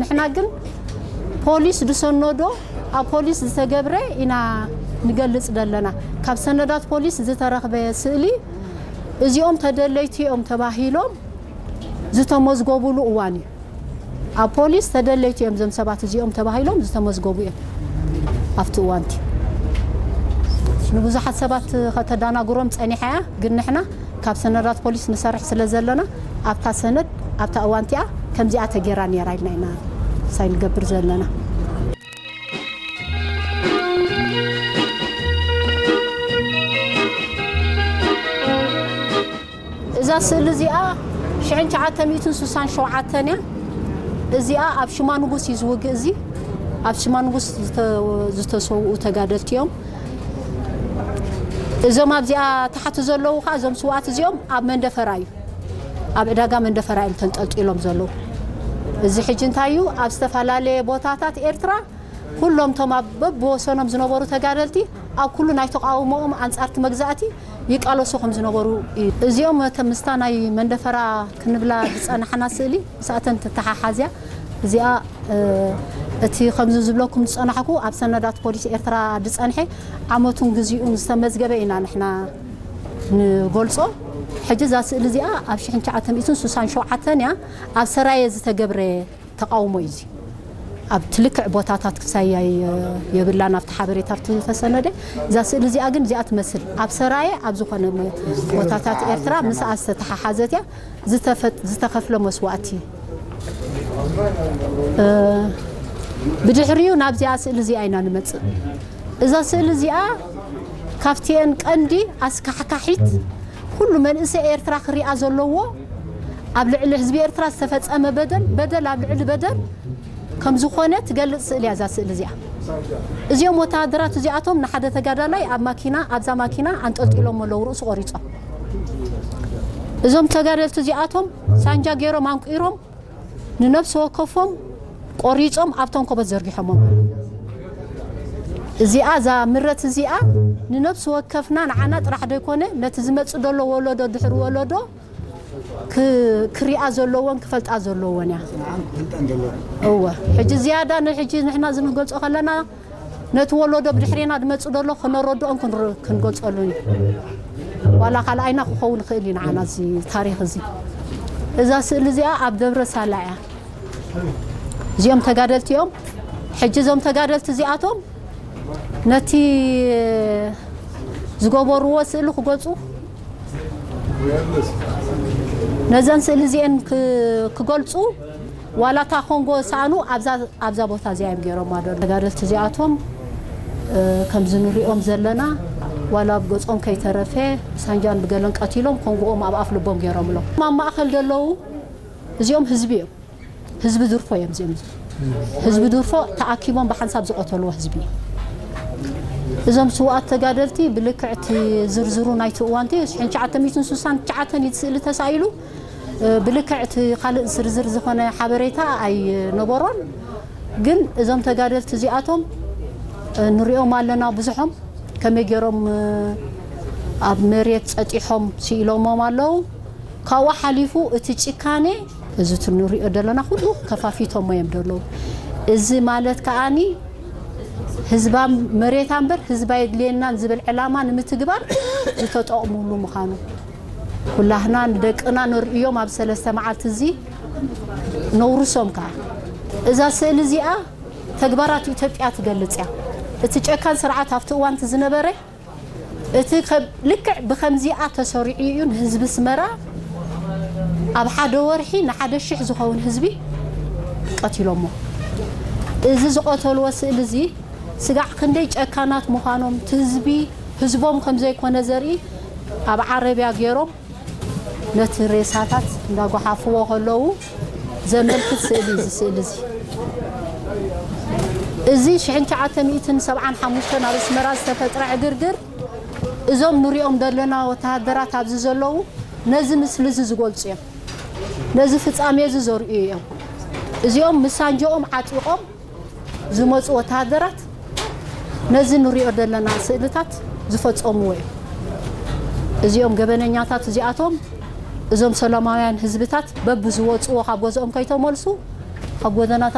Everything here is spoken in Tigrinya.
ንሕና ግን ፖሊስ ዝሰነዶ፣ ኣብ ፖሊስ ዝተገብረ ኢና ንገልጽ ዘለና። ካብ ሰነዳት ፖሊስ ዝተረኽበ ስእሊ እዚኦም ተደለይቲ እዮም ተባሂሎም ዝተመዝገቡሉ እዋን እዩ። ኣብ ፖሊስ ተደለይቲ እዮም እዞም ሰባት እዚኦም ተባሂሎም ዝተመዝገቡ እዮም ኣብቲ እዋንቲ። ንብዙሓት ሰባት ከተዳናግሮም ጸኒሓ እያ፣ ግን ንሕና ካብ ሰነዳት ፖሊስ ንሰርሕ ስለ ዘለና ኣብታ ሰነድ ኣብታ እዋንቲኣ ከምዚኣ ተጌራ ነይራ ኢልና ኢና ሳይ ንገብር ዘለና። እዛ ስእሊ እዚኣ ሽሕን ትሽዓተ ሚእትን ስሳን ሸውዓተን እያ። እዚኣ ኣብ ሽማ ንጉስ እዩ ዝውግእ። እዚ ኣብ ሽማ ንጉስ ዝተ-፣ ዝተሰውኡ ተጋደልቲ እዮም። እዞም ኣብዚኣ ታሕቲ ዘለዉ ከዓ እዞም ስውኣት እዚኦም ኣብ መንደፈራ እዩ፣ ኣብ ዕዳጋ መንደፈራ እዮም ተንጠልጢሎም ዘለዉ። እዚ ሕጂ እንታይ እዩ? ኣብ ዝተፈላለየ ቦታታት ኤርትራ ኩሎም እቶም ኣብ በብወሰኖም ዝነበሩ ተጋደልቲ ኣብ ኩሉ ናይ ተቃውሞኦም ኣንጻርቲ መግዛእቲ ይቃለሱ ከም ዝነበሩ እዩ። እዚኦም ከም ምስታ ናይ መንደፈራ ክንብላ ዝጸናሕና ስእሊ ምስኣተን ትተሓሓዝ እያ። እዚኣ፣ እ፣ እቲ ከምዚ ዝብለኩም ዝጸናሕኩ ኣብ ሰነዳት ፖሊስ ኤርትራ ዝጸንሐ ዓመቱን ግዚኡን ዝተመዝገበ ኢና ንሕና ንገልጾ። ሕጂ እዛ ስእሊ እዚኣ ኣብ ሽሕን ትሽዓተ ሚእትን ስሳን ሸውዓተን እያ ኣብ ሰራየ ዝተገብረ ተቃውሞ እዩ እዚ። ኣብ ትልክዕ ቦታታት ክሳይ ኣይ-፣ የብላን ኣብቲ ሓበሬታ ኣብቲ ዝተሰነደ። እዛ ስእሊ እዚኣ ግን እዚኣ ትመስል። ኣብ ሰራየ ኣብ ዝኾነ መ-፣ ቦታታት ኤርትራ ምስኣ ዝተተሓሓዘት እያ። ዝተፈ-፣ ዝተኸፍለ መስዋእቲ። እ፣ ብድሕሪኡ ናብዚኣ ስእሊ እዚኣ ኢና ንመጽእ። እዛ ስእሊ እዚኣ ካብቲኤን ቀንዲ ኣስካሕካሒት ኩሉ መንእሰይ ኤርትራ ክሪኣ ዘለዎ ኣብ ልዕሊ ህዝቢ ኤርትራ ዝተፈጸመ በደል፣ በደል ኣብ ልዕሊ በደል ከም ዝኾነ ትገልጽ ስእሊ እያ እዛ ስእሊ እዚኣ። እዚኦም ወተሃደራት እዚኣቶም ንሓደ ተጋዳላይ ኣብ ማኪና፣ ኣብዛ ማኪና ኣንጠልጢሎም ኣለዉ፣ ርእሱ ቆሪጾም። እዞም ተጋደልቲ እዚኣቶም ሳንጃ ገይሮም ኣንቂሮም ንነፍሲ ወከፎም ቆሪጾም ኣብቶም ኮቦት ዘርጊሖሞም። እዚኣ፣ እዛ ምረት እዚኣ ንነፍሲ ወከፍና ንዓና ጥራሕ ዘይኮነ ነቲ ዝመጽእ ዘሎ ወለዶ ድሕሪ ወለዶ ክ-፣ ክሪኣ ዘለዎን ክፈልጣ ዘለዎን እያ። እወ፣ ሕጂ ዝያዳ ንሕጂ ንሕና ዝንገልጾ ከለና ነቲ ወለዶ ብድሕሬና ዝመጽእ ዘሎ ክነረድኦም ክንር-፣ ክንገልጸሉን እዩ። ዋላ ካልኣይና ክኸውን ይኽእል እዩ ንዓና እዚ ታሪኽ እዚ። እዛ ስእሊ እዚኣ ኣብ ደብረ ሳላ እያ። እዚኦም ተጋደልቲ እዮም። ሕጂ እዞም ተጋደልቲ እዚኣቶም ነቲ ዝገበርዎ ስእሊ ክገልጹ፣ ነዘን ስእሊ እዚአን ክ-፣ ክገልጹ ዋላ እታ ኮንጎ ዝሰኣኑ ኣብዛ፣ ኣብዛ ቦታ እዚኣ እዮም ገይሮማ ደሎ። ተጋደልቲ እዚኣቶም፣ እ፣ ከምዚ ንሪኦም ዘለና ዋላ ኣብ ገጾም ከይተረፈ ብሳንጃን ብገለን ቀቲሎም ኮንጎኦም ኣብ ኣፍ ልቦም ገይሮምሎም። ኣብ ማእከል ዘለዉ እዚኦም ህዝቢ እዮም። ህዝቢ ድርፎ እዮም እዚኦም። ህዝቢ ድርፎ ተኣኪቦም ብሓንሳብ ዝቐተልዎ ህዝቢ እዩ። እዞም ስውኣት ተጋደልቲ ብልክዕ እቲ ዝርዝሩ ናይቲ እዋንቲ ሽሕን ትሽዓተ ሚእትን ስሳን ትሽዓተን እዩ ስእሊ ተሳኢሉ። እ፣ ብልክዕ እቲ ካልእ ዝርዝር ዝኾነ ሓበሬታ ኣይነበሮን። ግን እዞም ተጋደልቲ እዚኣቶም፣ እ፣ ንሪኦም ኣለና ብዙሖም ከመይ ገይሮም፣ እ፣ ኣብ መሬት ጸጢሖም ስኢሎሞም ኣለዉ። ካብኡ ሓሊፉ እቲ ጭካኔ፣ እዚ እቲ ንሪኦ ዘለና ኩሉ ከፋፊቶሞ እዮም ዘለዉ። እዚ ማለት ከኣኒ ህዝባ መሬታ እምበር ህዝባ የድልየናን ዝብል ዕላማ ንምትግባር ዝተጠቕሙሉ ምዃኑ ኩላህና ንደቅና ንርእዮም ኣብ ሰለስተ መዓልቲ እዚ ነውርሶም ከኣ። እዛ ስእሊ እዚኣ ተግባራት ኢትዮጵያ ትገልጽ እያ። እቲ ጨካን ስርዓት ኣብቲ እዋንቲ ዝነበረ እቲ ከ-፣ ልክዕ ብከምዚኣ ተሰሪዑ እዩ ንህዝቢ ኣስመራ ኣብ ሓደ ወርሒ ንሓደ ሽሕ ዝኸውን ህዝቢ ቀቲሎሞ። እዚ ዝቐተልዎ ስእሊ እዚ ስጋዕ ክንደይ ጨካናት ምዃኖም፣ እቲ ህዝቢ ህዝቦም ከም ዘይኮነ ዘርኢ ኣብ ዓረብያ ገይሮም ነቲ ሬሳታት እንዳጓሓፍዎ ከለዉ ዘመልክት ስእሊ እዩ። እዚ ስእሊ እዚ፣ እዚ ሽሕን ትሽዓተ ሚእትን ሰብዓን ሓሙሽተን ኣብ ኣስመራ ዝተፈጥረ ዕግርግር፣ እዞም ንሪኦም ዘለና ወተሃደራት ኣብዚ ዘለዉ ነዚ ምስሊ እዚ ዝገልጹ እዮም። ነዚ ፍጻሜ እዚ ዘርእዩ እዮም። እዚኦም ምስ ሳንጆኦም ዓጢቖም ዝመጹ ወተሃደራት ነዚ ንሪኦ ዘለና ስእልታት ዝፈጸምዎ እዮም። እዚኦም ገበነኛታት እዚኣቶም እዞም ሰላማውያን ህዝብታት በብዝወጽዎ ካብ ገዝኦም ከይተመልሱ ኣብ ጎደናታት